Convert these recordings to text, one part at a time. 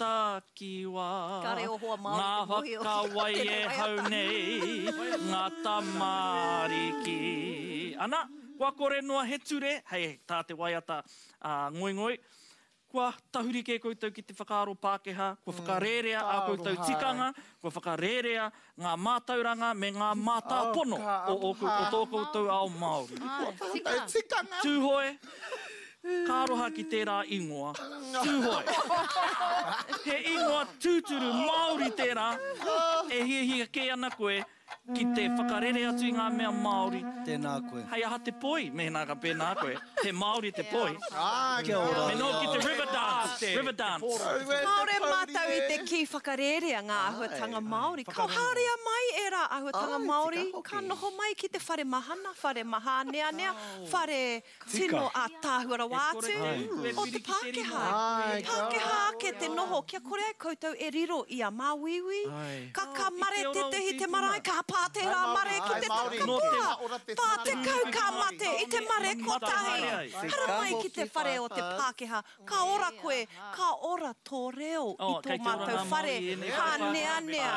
takiwā. Kare o hoa Māori Ngā te mōhio ki whakawai tēnei e hau waiata. nei, ngā tamariki. Ana, kua kore noa he ture, hei tā te waiata a Ngoingoi, Kua tahuri kē koutou ki te whakaaro Pākehā, kua whakarērea ā koutou tikanga, kua whakarērea ngā mātauranga me ngā mātāpono o ō o tō koutou ao Māori. Tūhoe, ka aroha ki tērā ingoa, Tūhoe. He ingoa tūturu Māori tērā, e hiahia kē ana koe ki te whakarere atu i ngā mea Māori. Tēnā koe. Hei aha te poi mēnā ka pēnā koe. He Māori te poi. Kia ora. Me noho ki te river dance, river dance. Kāore mātou i te kī whakarērea ngā āhuatanga Māori. Ka haria mai ērā āhuatanga Māori, ka noho mai ki te whare mahana, whare mahāneanea, whare Tino ātaahua rawa atu o te Pākehā. Pākehā ake te noho kia kore ai koutou e riro i a māuiui. Ka ka mare tētehi te marae, ka pā tērā mare ki te katoa. 40 ka mate i te mare kotahi. Haramai ki te whare o te Pākehā Ka ora koe, ka ora tō reo i tō mātou whare hāneanea,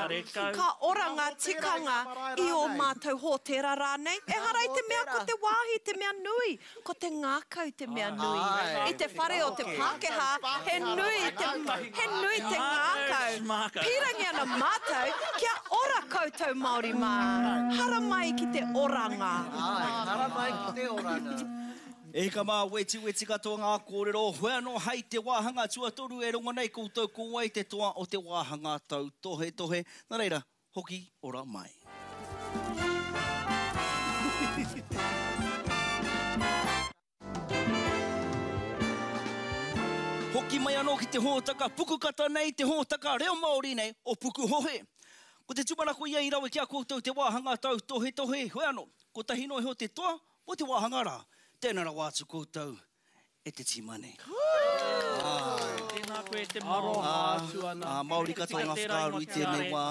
ka ora ngā tikanga i ō mātou hōtēra rānei. Ehara i te mea ko te wāhi te mea nui, ko te ngākau te mea nui. I te whare o te Pākehā, he nui te, he nui te ngākau. Pīrangi ana mātou kia ora koutou Māori mā. Haramai ki te oranga. Haramai ki te oranga. E hika mā, wetiweti katoa ngā kōrero, hoi anō hei te wāhanga tuatoru e rongo nei koutou ko wai te toa o te wāhanga tautohetohe, nā reira, hoki ora mai. Hoki mai anō ki te hōtaka pukukata nei, te hōtaka reo Māori nei o Pukuhohe. Ko te tūmanako ia i rawe ki a koutou te wāhanga tautohetohe, hoi anō, kotahi noa iho te toa Ko te wāhanga rā, tēnā rawa atu koutou e te tīma nei. Tēnā koe e te Māori. Aroha atu ana. Ā, Māori katoa ngā whakaaro i tēnei wā.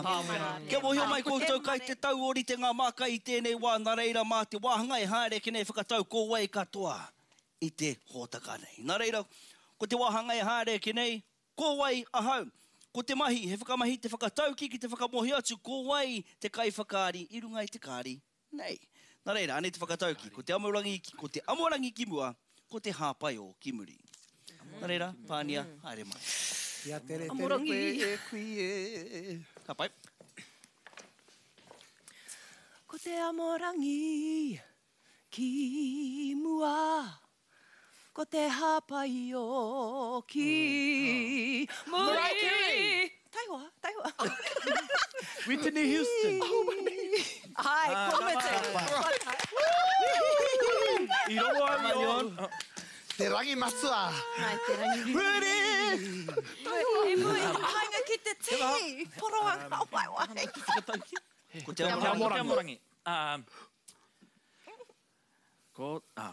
Kia mōhio mai koutou kai te tau ōrite ngā mākai i tēnei wā, nā reira mā te wāhanga e haere ake nei whakatau ko wai katoa i te hōtaka nei. Nā reira, ko te wāhanga e haere ake nei, ko wai ahau? Ko te mahi, he whakamahi te whakatauki ki te whakamōhio atu ko wai te kaiwhakaari i runga i te kāri Nei. Nā reira, anei te whakatauki, ko te amorangi, ko te amorangi ki mua, ko te hāpaiō ki muri. Nā reira, Pānia, haere mai. Kia teretere koe e kui e. Ka pai. Ko te amorangi ki mua. Ko te hāpai o ki muri. Taihoa, taihoa. Whitney Houston. Ai, kua mutu. I rongo au i ō. Te rangi matua. Ai, te rangi. Whitney! E mua i te painga ki te tī. Poroa ngā waewae. Ko te amorangi. Ko te amorangi. Ko, ā.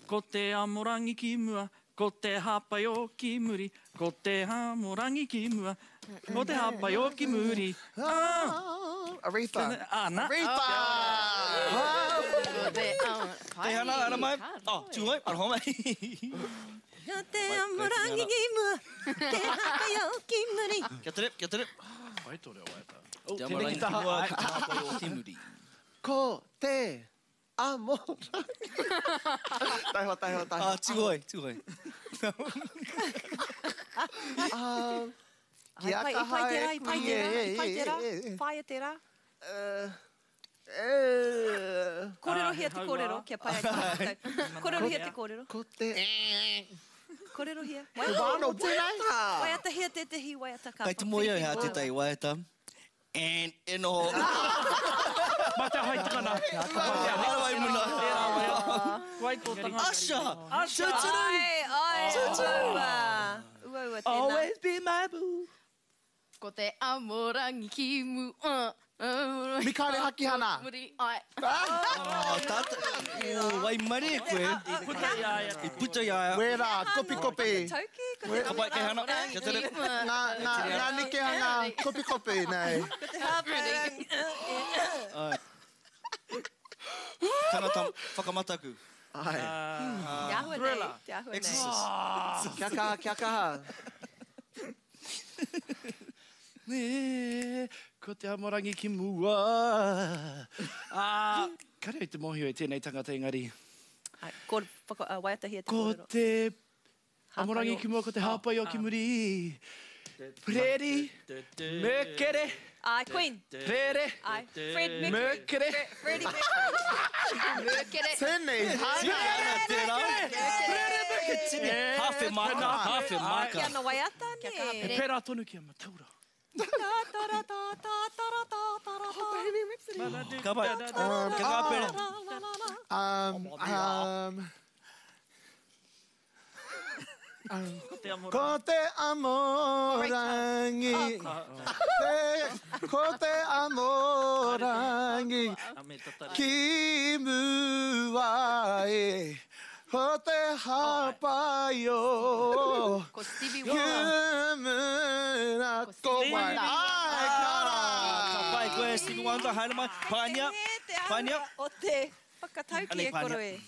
Ko te amorangi ki mua, ko te hāpai-o ki muri, ko te amorangi ki mua, ko te hāpai-o ki muri, ā! Aretha. Ā, nā. Aretha! Teihana, ara mai. Oh, tū ai, aroha mai. Ko te amorangi ki mua, te hāpai-o ki muri. Kia tere, kia tere. Pai tō reo waiata. Te amorangi ki mua, ko te hāpai-o ki muri. Ko te Amorangi. Taihoa, taihoa, taihoa. Ah, tūhoi, tūhoi. Ah, kia I pai, i pai tērā, i pai tērā, i pai tērā, whāia tērā. Kōrerohia te kōrero, kia pai ai te whakatau. Kōrerohia te kōrero. Ko te... Kōrerohia. Te wāno tēnei. Waiatahia tētehi waiata ka Kai te moe au hea tētahi waiata. And e noho. Ma te hai takana. Harawai muna. Wai tō tangata. Usher! Usher! Tuturu! Ai, ai, uaua. Uaua tēnā. Always be my boo. Ko te amorangi ki mua. Mikaere Hakihana. Muri, ai. Oh, tata. Oh, waimarie koe. I puta i a ia. I puta i a ia. Wera, kopikopi. Tauki, ko te Ka pai, kei hana. Kia tere. Ngā, ngā, ngā nekehanga kopikopi, nei. Ko te hāpai. Ai. Tangata whakamataku. Ai. Te āhua nei, te āhua nei. Exorcist. Kia kaha, kia kaha. Nē, ko te amorangi ki mua. Ā, kare au te mōhio i tēnei tangata engari. Ai, ko, whaka, uh, waiatahia te Ko kōrero. te amorangi ki mua, ko te hāpai o ki muri. Preri, Merkere. Ai, Queen. Prere. Ai, Fred Mercury. Merkere. Freddie Mercury. Merkere. Tēnei, Tini ana tērā. Prere Merkere. Tini, hāwhe māka, hāwhe māka. Kia ana waiata, nē. He pērā tonu ki a Mataura. Ta ta ra ta ta ta ra ta ta ra ta. Ka pai. Kia kaha pere. La la la la. Ko te amorangi. Te, ko te amorangi. Ki mua e. Ko te hāpai o. Ko Stevie Ki Wonder. mura ko wai. Ai, kia ora. Ka pai koe, Stevie Wonder, haere mai. Pānia, Te āhua Pānia. o te whakatauki Anei, e koro Pānia. e.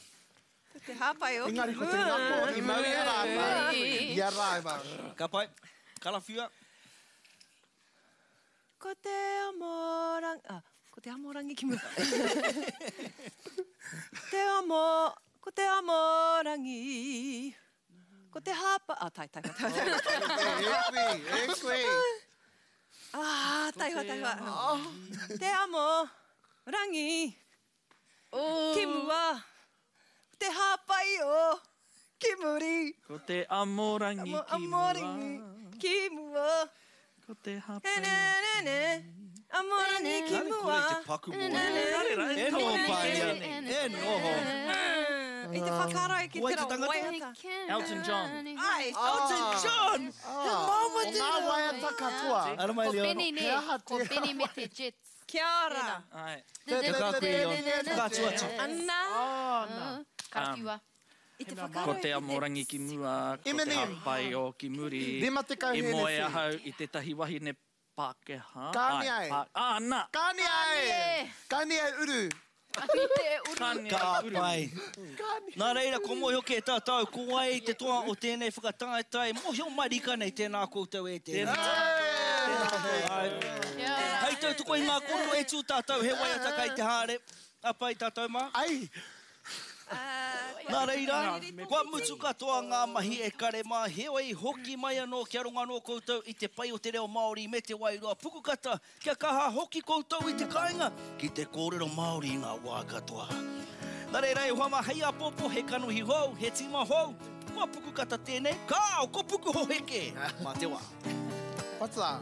Ko te hāpai o ki Engari ko te ngako i mau i a rātou. I a rātou. Ka pai. Karawhiua. Ko te amorangi, ah, ko te amorangi ki mua. te amo, ko te amorangi. Ko te hāpa, ah, tai, tai, tai, tai. E kui, e kui. Ah, taihoa, taihoa. Te amo, rangi. Ki mua. Te hāpai o, ki muri. Ko te amorangi Amo, ki mua. amorangi, ki mua. Ko te Ne, hāpai ne, ne, ne. Amorangi ki Kāre mua. kore te paku mō. E noho, Pānia. E noho. I te whakaaro ki Wai te te rā tangata? waiata. Elton John. Ai. Elton John! He māmā O ngā tērā. waiata katoa. Ara mai, Ko Leon. Benny, nē. He aha Ko tērā Benny me te Jets. Kia ora. Ai. Kia kaha koe, Leon. Whakaatu atu. Ana. Karawhiua. I te whakaaro Ko te ki amorangi ki mua, ko te Eminem. hāpai o ki muri. 50 I moe hēneti. ahau i tētahi wahine Pākehā. Kāni Ai, ai. pā- Ah, nā. Kāni ai! Kāni ai uru. Kāni te uru. Kāni Ka ai uru. pai. Nā reira, ko mōhio kē tātou, ko wai te toa o tēnei whakataetae, mōhio marika nei tēnā koutou e tēnā. Ai. Hei tautoko i ngā kōrero e tū tātou, he waiata kai te haere. A pai tātou mā. Ai! Nā reira, kua mutu katoa ngā mahi e kare mā, heoi hoki mai anō kia rongo anō koutou i te pai o te reo Māori me te wairua pukukata, kia kaha hoki koutou i te kāinga ki te kōrero Māori i ngā wā katoa. Nā reira e hoa mā, hei āpōpō, he kanohi hou, he tīma hou, kua pukukata tēnei, kāo, ko pukuhohe kē, mā te wā. What's that?